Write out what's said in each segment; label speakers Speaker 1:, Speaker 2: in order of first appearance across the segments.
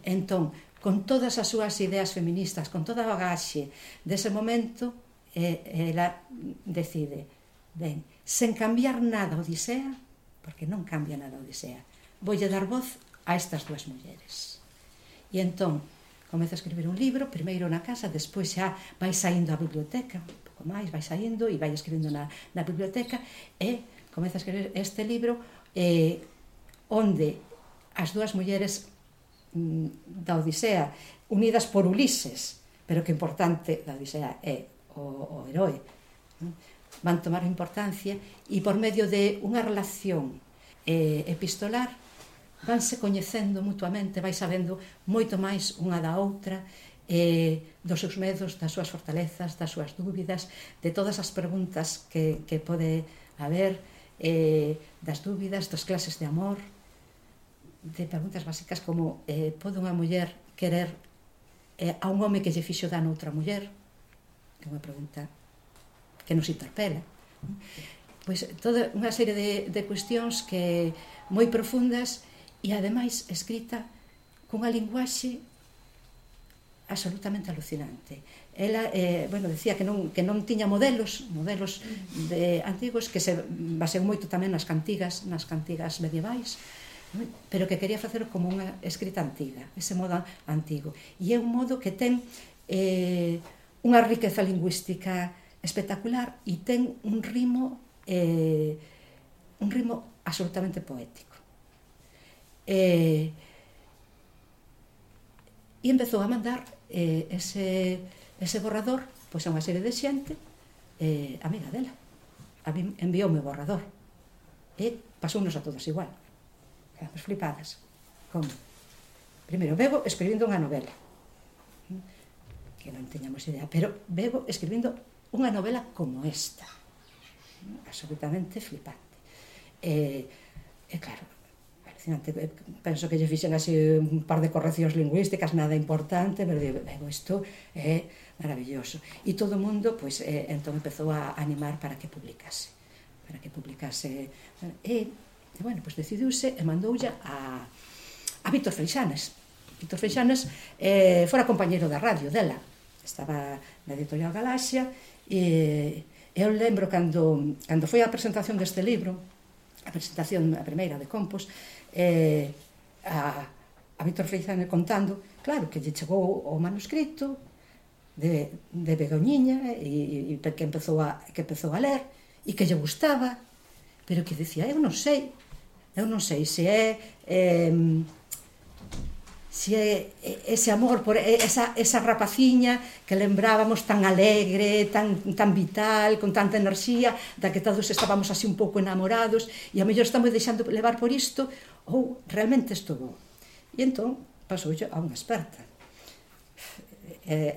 Speaker 1: Entón, con todas as súas ideas feministas, con toda a bagaxe dese momento, ela decide, ben, sen cambiar nada a Odisea, porque non cambia nada a Odisea, voulle dar voz a estas dúas mulleres. E entón, comeza a escribir un libro, primeiro na casa, despois xa vai saindo á biblioteca, un pouco máis, vai saindo e vai escribindo na biblioteca, e comeza a escribir este libro onde as dúas mulleres da Odisea, unidas por Ulises, pero que importante da Odisea é o heroe, van tomar importancia e por medio de unha relación epistolar vanse coñecendo mutuamente, vai sabendo moito máis unha da outra, dos seus medos, das súas fortalezas, das súas dúbidas, de todas as preguntas que pode haber, das dúbidas, das clases de amor, de preguntas básicas como pode unha muller querer a un home que lle fixo dano a outra muller, que é unha pregunta que nos interpela. Pois toda unha serie de cuestións que moi profundas e ademais escrita cunha linguaxe absolutamente alucinante. Ela, decía que non tiña modelos antigos, que se baseou moito tamén nas cantigas medievais, pero que quería facer como unha escrita antiga, ese modo antigo. E é un modo que ten unha riqueza lingüística espectacular e ten un ritmo absolutamente poético. E empezou a mandar ese borrador pois a unha serie de xente amiga dela. A mí envioume o borrador e pasounos a todos igual. Quedamos flipadas. Como? Primeiro, Bebo escribindo unha novela, que non teñamos idea, pero Bebo escribindo unha novela como esta, absolutamente flipante. E claro, alucinante. Penso que lle fixen así un par de correccións lingüísticas, nada importante, pero digo, isto é maravilloso. E todo o mundo, pois, entón empezou a animar para que publicase. E, bueno, pois decidiuse e mandoulla a Víctor Freixanes. Víctor Freixanes fora compañeiro da radio dela. Estaba na editorial Galaxia e eu lembro cando foi a presentación deste libro, a presentación a primeira de Compos, a Víctor Freixanes contando, claro, que lle chegou o manuscrito de Begoñiña e que empezou a ler e que lle gustaba, pero que dicía, eu non sei se é ese amor por esa rapaciña que lembrábamos tan alegre, tan vital, con tanta enerxía, da que todos estábamos así un pouco enamorados e a mellor estamos deixando levar por isto, ou realmente isto bo. E entón pasoulle a unha experta.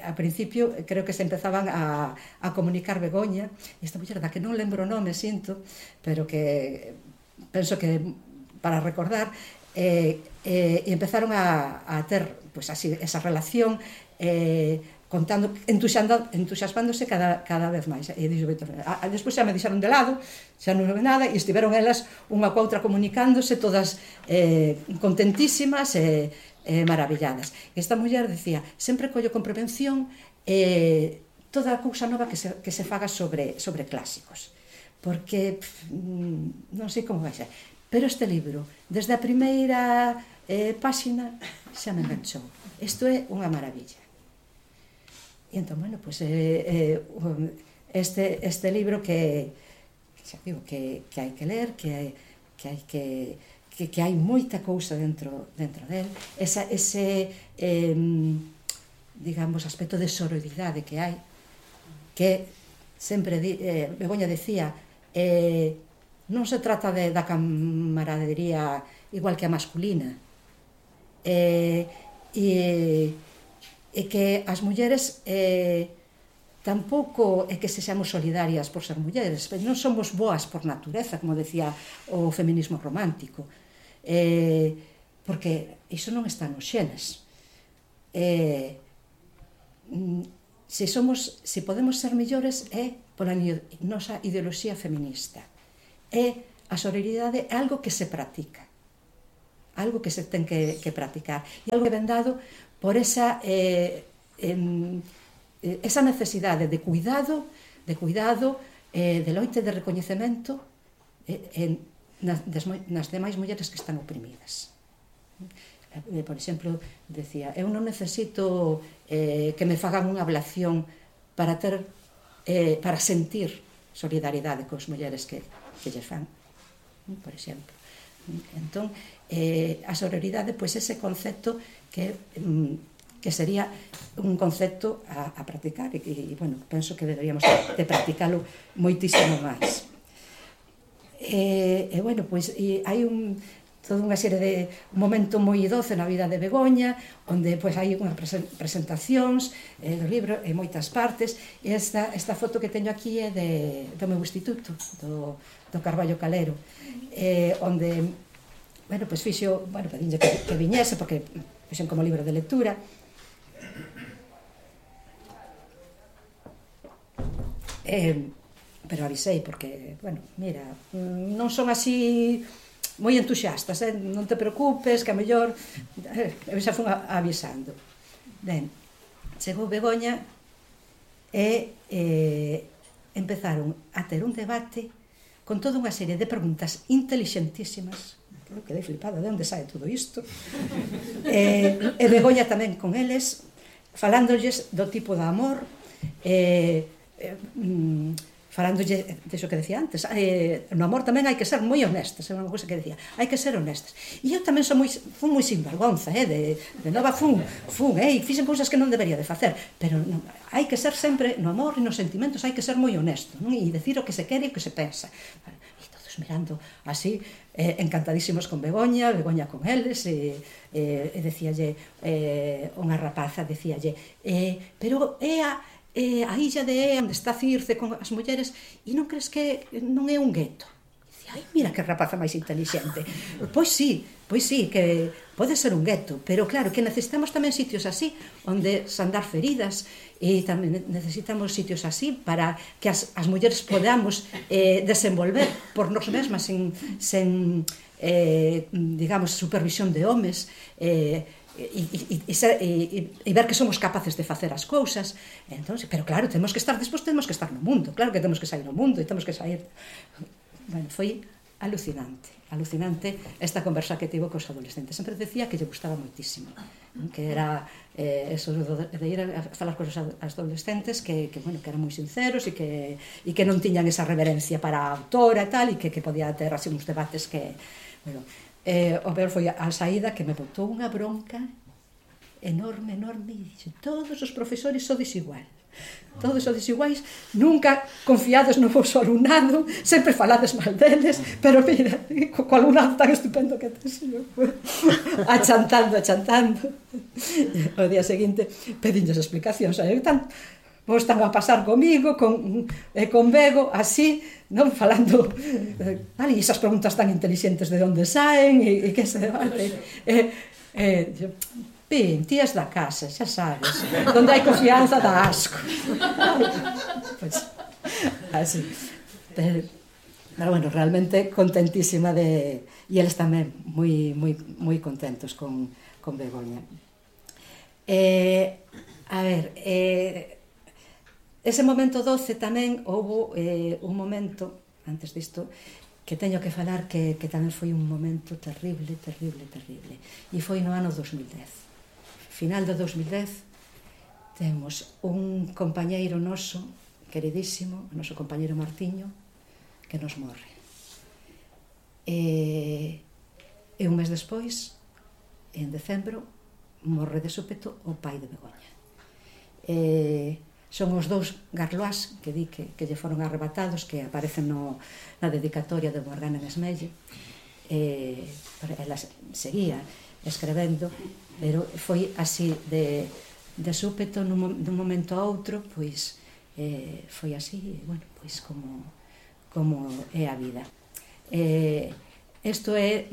Speaker 1: A principio creo que se empezaban a comunicar Begoña, esta muller da que non lembro o nome, sinto, pero que penso que para recordar, e empezaron a ter pues, así, esa relación, contando, entusiasmándose cada vez máis. E dixo Víctor, despois xa me deixaron de lado, xa non houve nada, e estiveron elas unha coa outra comunicándose, todas contentísimas e maravilladas. Esta muller decía, sempre collo con prevención toda a cousa nova que se faga sobre clásicos, porque non sei como vai ser. Pero este libro, desde a primeira páxina, xa me enganchou. Isto é unha maravilla. E entón, bueno, pois este libro que xa digo, que hai que ler, que hai moita cousa dentro del, ese digamos, aspecto de sororidade que hai, que sempre Begoña decía, non se trata da camaradería igual que a masculina, e que as mulleres tampouco é que sexamos solidarias por ser mulleres, non somos boas por natureza, como decía o feminismo romántico, porque iso non está nos xenes. Se podemos ser mellores é pola nosa ideoloxía feminista. A sororidade é algo que se practica. algo que se ten que practicar, e algo que ven dado por esa necesidade de cuidado, de loite de recoñecemento nas demais mulleres que están oprimidas. Por exemplo, decía, eu non necesito que me fagan unha ablación para sentir solidaridade cos mulleres que lles fan, por exemplo. Entón, a sororidade, pois ese concepto que sería un concepto a practicar, e, bueno, penso que deberíamos de practicalo moitísimo máis. E, bueno, pois, hai toda unha serie de un momento moi doce na vida de Begoña, onde pois hai unhas presentacións do libro en moitas partes, e esta foto que teño aquí é do meu instituto, do Carballo Calero, onde, bueno, pois fixo, bueno, pedinlle que viñese, porque fixen como libro de lectura. Pero avisei, porque, bueno, mira, non son así moi entusiastas, non te preocupes, que a mellor eu xa fun avisando. Ben, chegou Begoña e empezaron a ter un debate con toda unha serie de preguntas intelixentísimas. Eu quedei flipada, de onde sae todo isto? E Begoña tamén con eles, falándolles do tipo de amor, falándolle deso que decía antes, no amor tamén hai que ser moi honestas, é unha cousa que decía, hai que ser honestas. E eu tamén fun moi sinvergonza, de nova fun, e fixen cousas que non debería de facer, pero hai que ser sempre, no amor e nos sentimentos, hai que ser moi honesto, e decir o que se quere e o que se pensa. E todos mirando así, encantadísimos con Begoña con eles, e decíalle, unha rapaza decíalle, pero é a illa de Ea, onde está Circe con as mulleres, e non crees que non é un gueto? Dicía, ai, mira que rapaza máis intelixente. Pois sí, que pode ser un gueto, pero claro, que necesitamos tamén sitios así, onde sandar feridas, e tamén necesitamos sitios así para que as mulleres podamos desenvolver por nos mesmas sen digamos, supervisión de homes, e ver que somos capaces de facer as cousas. Entón, pero claro, temos que estar despois, temos que estar no mundo, claro que temos que sair no mundo e temos que sair. Bueno, foi alucinante esta conversa que tivo cos adolescentes. Sempre decía que lle gustaba moitísimo, que era eso de ir a falar cos adolescentes que eran moi sinceros e que non tiñan esa reverencia para a autora e tal, e que podía ter así uns debates que, bueno, o peor foi a saída, que me botou unha bronca enorme, e dixo, todos os profesores sodes iguais, nunca confiades no vosso alumnado, sempre falades mal deles, pero mira, co alumnado tan estupendo que tes, achantando. O día seguinte pedinlles explicacións, vos están a pasar comigo, con Bego, así, non falando, e esas preguntas tan inteligentes de onde saen, e que se debate. Pin, tías da casa, xa sabes, onde hai confianza dá asco. Pois, así. Pero, bueno, realmente contentísima e eles tamén moi contentos con Begoña. A ver, ese momento doce tamén houbo un momento, antes disto, que teño que falar que tamén foi un momento terrible, e foi no ano 2010. Final do 2010 temos un compañeiro noso, queridísimo, o noso compañeiro Martiño, que nos morre. E un mes despois, en decembro, morre de súpeto o pai de Begoña. Son os dous Garlois que di que lle foron arrebatados, que aparecen na dedicatoria de Morgana en Esmelle. Ela seguía escrevendo, pero foi así de súpeto, dun momento a outro, pois foi así, bueno, pois como é a vida. Isto é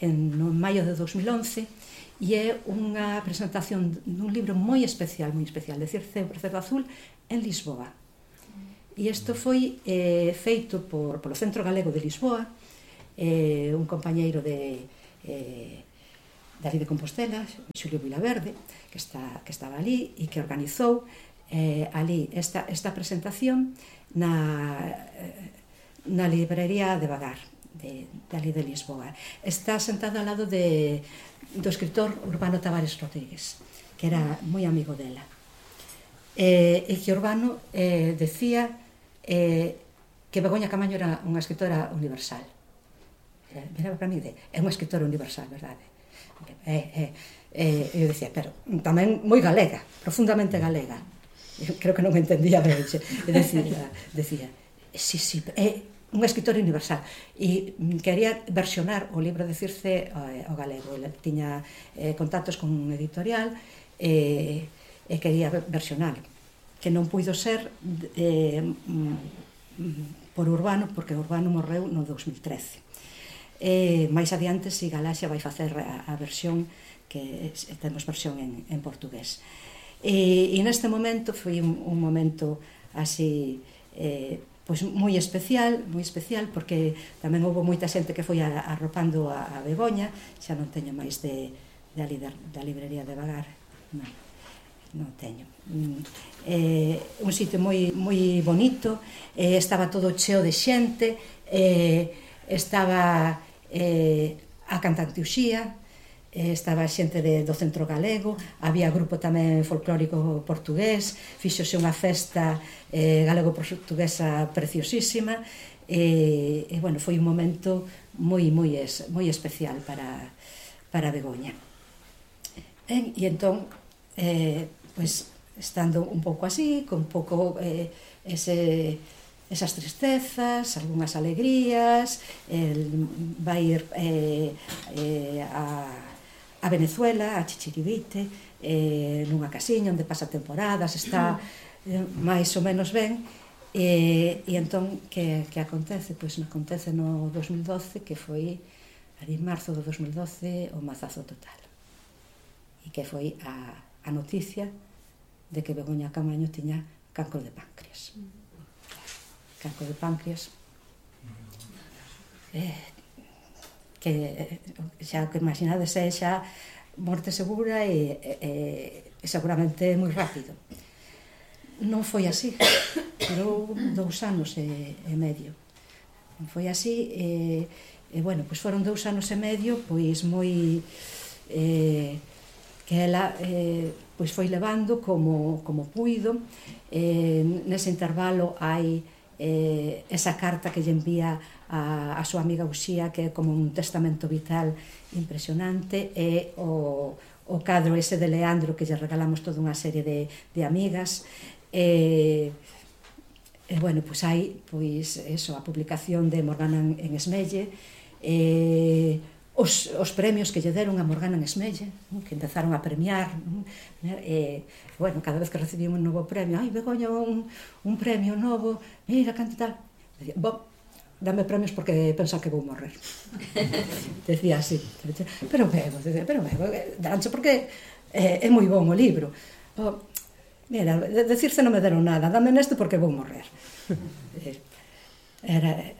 Speaker 1: no maio de 2011, e é unha presentación dun libro moi especial, de Circe Azul, en Lisboa. E isto foi feito polo Centro Galego de Lisboa, un compañeiro dali de Compostela, Xulio Vilaverde, que estaba ali e que organizou ali esta presentación na librería de Vagar, de ali de Lisboa. Está sentado ao lado do escritor Urbano Tavares Rodríguez, que era moi amigo dela. E que Urbano decía que Begoña Camaño era unha escritora universal. Miraba para mí é unha escritora universal, verdade? Eu dicía, pero tamén moi galega, profundamente galega. Eu creo que non me entendía ben. Decía, sí, é unha escritora universal. E quería versionar o libro de Circe ao galego. Ele tiña contactos con un editorial e quería versionar, que non puido ser por Urbano, porque Urbano morreu no 2013. Mais adiante, si Galaxia vai facer a versión, que temos versión en portugués. E neste momento foi un momento así pois moi especial, porque tamén houve moita xente que foi arropando a Begoña. Xa non teño máis da librería de Vagar, non teño. Un sitio moi bonito, estaba todo cheo de xente, estaba a cantante Uxía, estaba xente do centro galego, había grupo tamén folclórico portugués, fíxose unha festa galego-portuguesa preciosísima, e bueno, foi un momento moi especial para Begoña. E entón, pois, estando un pouco así, con un pouco esas tristezas, algunhas alegrías, vai ir a Venezuela, a Chichiribite, nunha casiña onde pasa temporadas, está máis ou menos ben, e entón, que acontece? Pois acontece no 2012, que foi ali en marzo do 2012 o mazazo total, e que foi a noticia de que Begoña Camaño tiña cancro de páncreas. Cancro de páncreas, que xa o que imaginades é xa morte segura e seguramente moi rápido. Non foi así, durou 2 anos e medio. Non foi así, e bueno, pois foron 2 anos e medio pois moi que ela pois foi levando como puido. Nese intervalo hai esa carta que lle envía a súa amiga Uxía, que é como un testamento vital impresionante, e o cadro ese de Leandro, que lle regalamos toda unha serie de amigas. Bueno, pois hai eso, a publicación de Morgana en Esmelle, os premios que lle deron a Morgana en Esmelle, que empezaron a premiar. Bueno, cada vez que recibimos un novo premio, ai, Begoña, un premio novo, mira, canto tal. Bom, dame premios porque pensa que vou morrer. Decía así. Pero bebo, dancho porque é moi bon o libro. Mira, decirse non me deron nada, dame neste porque vou morrer. Era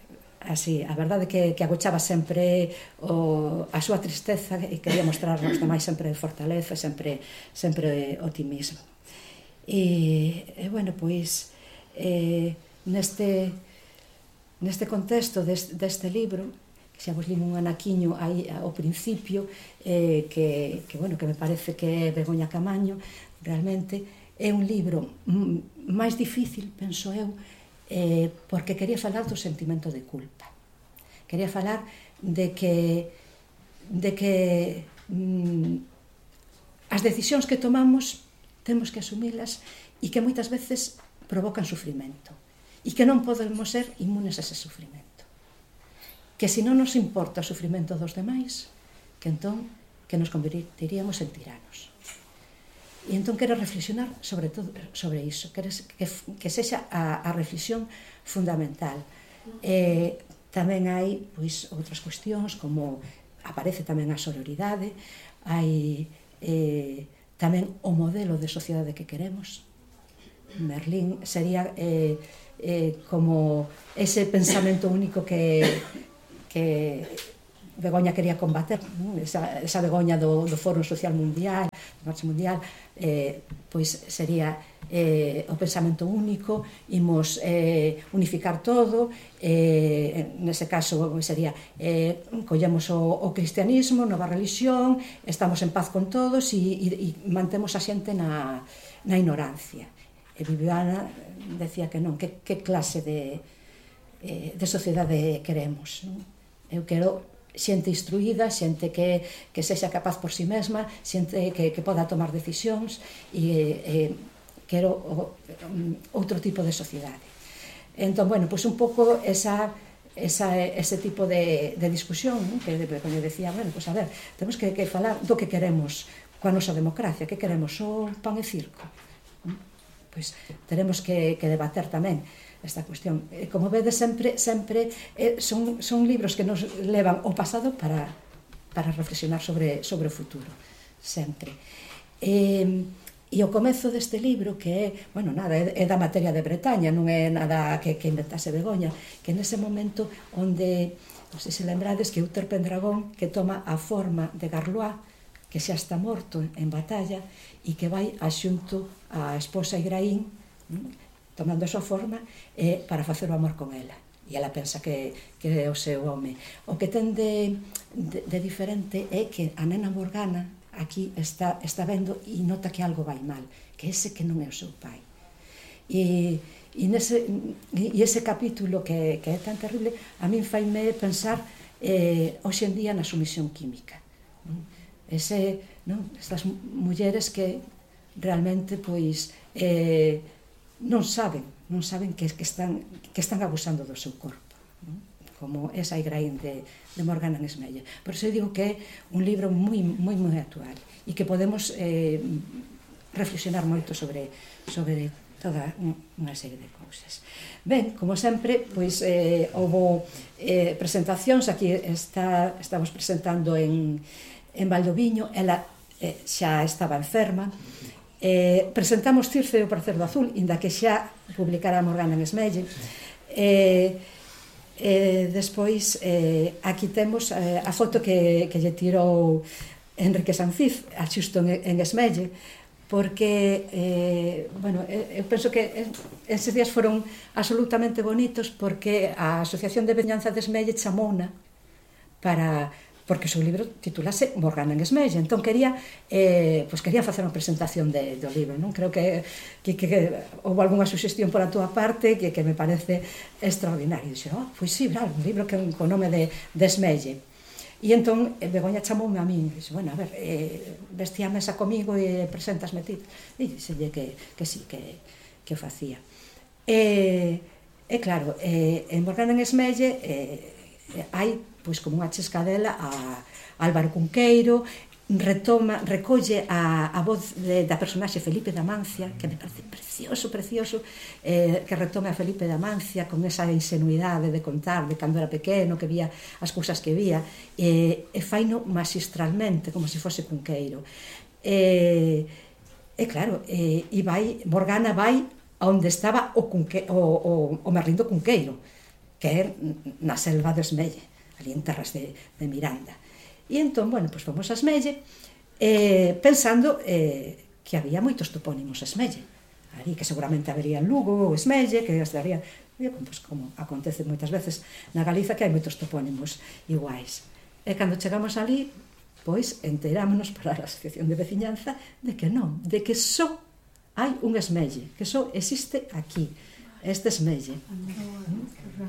Speaker 1: así, a verdade que agochaba sempre a súa tristeza e quería mostrar aos demais sempre fortaleza, sempre optimismo. E bueno, pois neste contexto deste libro, que xa vos limo un anaquiño aí ao principio, que me parece que é Begoña Camaño, realmente é un libro máis difícil, penso eu, porque quería falar do sentimento de culpa. Quería falar de que as decisións que tomamos temos que asumilas e que moitas veces provocan sufrimento e que non podemos ser inmunes a ese sufrimento. Que se non nos importa o sufrimento dos demais, que entón que nos convertiríamos en tiranos. E entón quero reflexionar sobre todo sobre iso, que sexa a reflexión fundamental. Tamén hai pois outras cuestións, como aparece tamén a sororidade, hai tamén o modelo de sociedade que queremos. Merlín sería como ese pensamento único que Begoña quería combater, esa Begoña do Foro Social Mundial, do Marcha Mundial, pois sería o pensamento único, imos unificar todo, nese caso sería collemos o cristianismo, nova religión, estamos en paz con todos e mantemos a xente na ignorancia. E Viviana decía que non, que clase de sociedade queremos, non? Eu quero xente instruída, xente que sexa capaz por si mesma, xente que poda tomar decisións, e quero outro tipo de sociedade. Entón, bueno, pois un pouco ese tipo de discusión, que como decía, bueno, pois a ver, temos que falar do que queremos coa nosa democracia, que queremos, o pan e circo. Pois teremos que debater tamén esta cuestión. Como vedes, sempre son libros que nos levan ao pasado para reflexionar sobre o futuro, sempre. E o comezo deste libro, que é, bueno, nada, é da materia de Bretaña, non é nada que inventase Begoña, que nese momento onde, non sei se lembrades, que Uther Pendragón, que toma a forma de Garlois, que xa está morto en batalla, e que vai axunto a esposa Igraín, tomando a súa forma, para facer o amor con ela. E ela pensa que é o seu home. O que ten de diferente é que a nena Morgana aquí está vendo e nota que algo vai mal, que ese que non é o seu pai. E ese capítulo que é tan terrible, a min faime pensar hoxe en día na sumisión química. Estas mulleres que realmente pois non saben que están abusando do seu corpo, como esa Igraín de Morgana Nesmelle. Por iso eu digo que é un libro moi actual e que podemos reflexionar moito sobre toda unha serie de cousas. Ben, como sempre, pois houve presentacións, aquí estamos presentando en Valdoviño, ela xa estaba enferma. Presentamos Circe e o Pracer do Azul, inda que xa publicara Morgana Nesmelle. Despois, aquí temos a foto que lle tirou Enrique Sanfiz, xusto en Esmelle, porque, eu penso que eses días foron absolutamente bonitos, porque a Asociación de Veciñanza de Esmelle chamouna porque o seu libro titulase Morgana en Esmelle, entón quería facer unha presentación do libro, non? Creo que houve algunha suxestión pola túa parte que me parece extraordinario. Dixo, pois sí, un libro con nome de Esmelle. E entón Begoña chamoume a min, dixo, bueno, a ver, vestía a mesa comigo e presentasme ti. E dixelle que sí, que o facía. E claro, en Morgana en Esmelle hai pois como unha chescadela a Álvaro Cunqueiro, recolle a voz da personaxe Felipe de Amancia, que me parece precioso, que retome a Felipe de Amancia con esa ingenuidade de contar de cando era pequeno, que vía as cousas que vía, e faino magistralmente, como se fose Cunqueiro. E claro, Morgana vai onde estaba o Merlindo Cunqueiro, que é na selva de Esmelle, ali en terras de Miranda. E entón, pois fomos a Esmelle pensando que había moitos topónimos Esmelle, ali que seguramente habería en Lugo ou Esmelle, que estaría, pois como acontece moitas veces na Galiza, que hai moitos topónimos iguais. E cando chegamos ali, pois enterámonos para a Asociación de Veciñanza de que non, de que só hai un Esmelle, que só existe aquí, este Esmelle.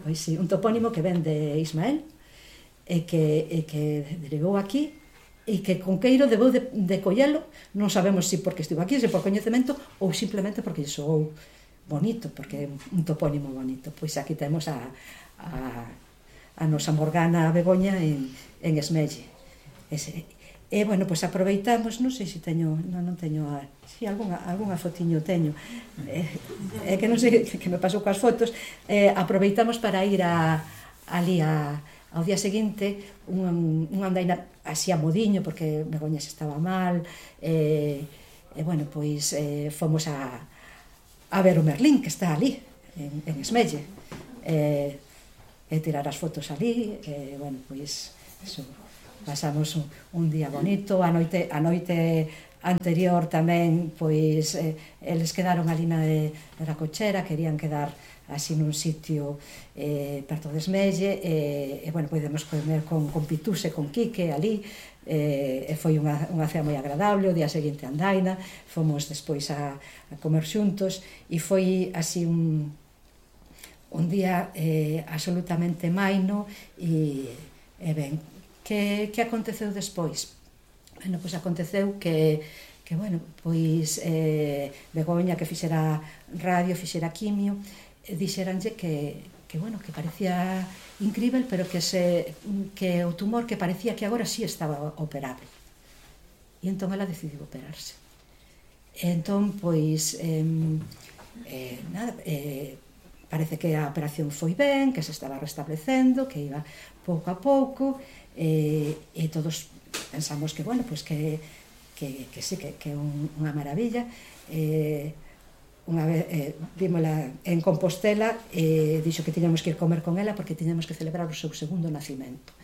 Speaker 1: Pois sí, un topónimo que ven de Ismael, e que derivou aquí, e que Cunqueiro debeu de collelo, non sabemos se porque estivo aquí, se por coñecemento, ou simplemente porque lle soou bonito, porque é un topónimo bonito. Pois aquí temos a nosa Morgana Begoña en Esmelle. E, pois aproveitamos, non sei se teño, non teño, si algunha fotiño teño, é que non sei que me pasou coas fotos, aproveitamos para ir ali ao día seguinte unha andaina así a modiño, porque Begoña se estaba mal, pois fomos a ver o Merlín, que está ali en Esmelle, e tirar as fotos ali, pois pasamos un día bonito, a noite anterior tamén, pois, eles quedaron ali na cochera, querían quedar así nun sitio perto de Esmelle, e, bueno, podemos comer con Pitús e con Quique ali, e foi unha cea moi agradable. O día seguinte andaina, fomos despois a comer xuntos, e foi así un día absolutamente maino, e ben, que aconteceu despois? Bueno, pois aconteceu que bueno, pois Begoña, que fixera radio, fixera quimio, dixeranlle que bueno, que parecía incrível, pero que o tumor que parecía que agora sí estaba operable. E entón ela decidiu operarse. E entón, pois, nada, parece que a operación foi ben, que se estaba restablecendo, que iba pouco a pouco, e todos pensamos que, bueno, pois que sí, que é unha maravilla. Unha vez vímola en Compostela, dixo que tiñamos que ir comer con ela porque tiñamos que celebrar o seu segundo nacimento.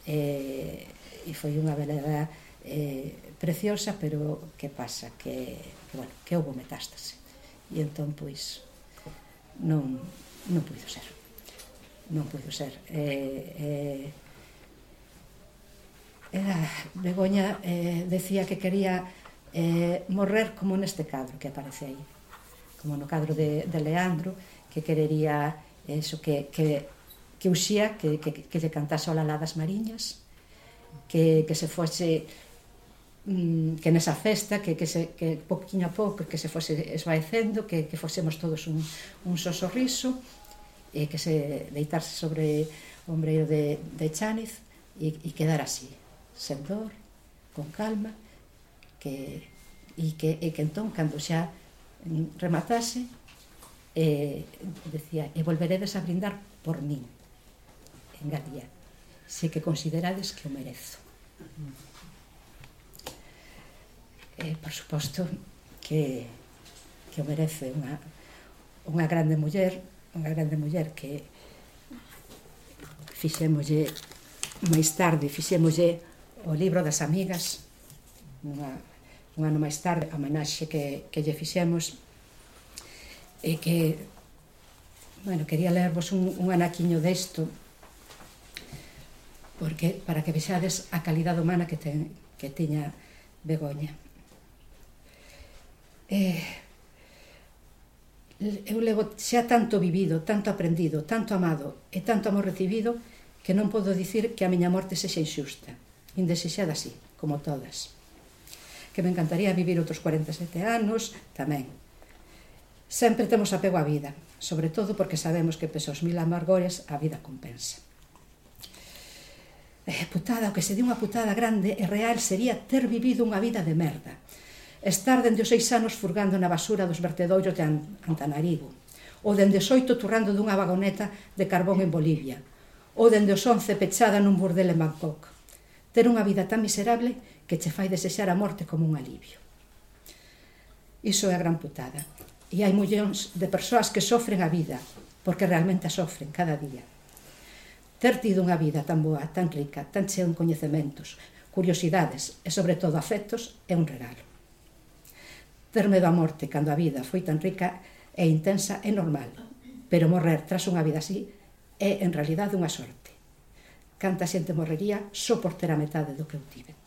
Speaker 1: E foi unha velada preciosa, pero que pasa? Que bueno, que houve metástase. E entón, pois, non puido ser. Non puido ser. Begoña decía que quería morrer como neste cadro que aparece aí, como no cadro de Leandro, que querería eso, que Uxía, que lle cantase o Lalá das Mariñas, que se fose, que nesa festa, que poquinho a pouco, que se fose esvaecendo, que fosemos todos un só sorriso, e que se deitase sobre o ombreiro de Chániz e quedar así, sen dor, con calma, e que entón, cando xa rematase, decía, e volveredes a brindar por min, engadía, se que considerades que o merezo. Por suposto que o merece unha grande muller que fixémoslle máis tarde, fixémoslle o libro das amigas, un ano máis tarde, a homenaxe que lle fixemos, e que, bueno, quería lervos un anaquiño desto, porque para que vexades a calidade humana que tiña Begoña. Eu levo xa tanto vivido, tanto aprendido, tanto amado e tanto amor recibido, que non podo dicir que a miña morte sexa inxusta, indesexada así, como todas. Que me encantaría vivir outros 47 anos, tamén. Sempre temos apego á vida, sobre todo porque sabemos que pese aos 1000 amargores a vida compensa. Putada, o que se di unha putada grande e real sería ter vivido unha vida de merda. Estar dende os 6 anos furgando na basura dos vertedoiros de Antanarivo, ou dende os 8 turrando dunha vagoneta de carbón en Bolivia, ou dende os 11 pechada nun burdel en Bangkok. Ter unha vida tan miserable que che fai desexar a morte como un alivio. Iso é a gran putada. E hai millóns de persoas que sofren a vida, porque realmente a sofren cada día. Ter tido unha vida tan boa, tan rica, tan chea en coñecementos, curiosidades e, sobre todo, afectos, é un regalo. Ter medo á morte cando a vida foi tan rica e intensa é normal, pero morrer tras unha vida así é, en realidade, unha sorte. Canta xente morrería só por ter a metade do que eu tive.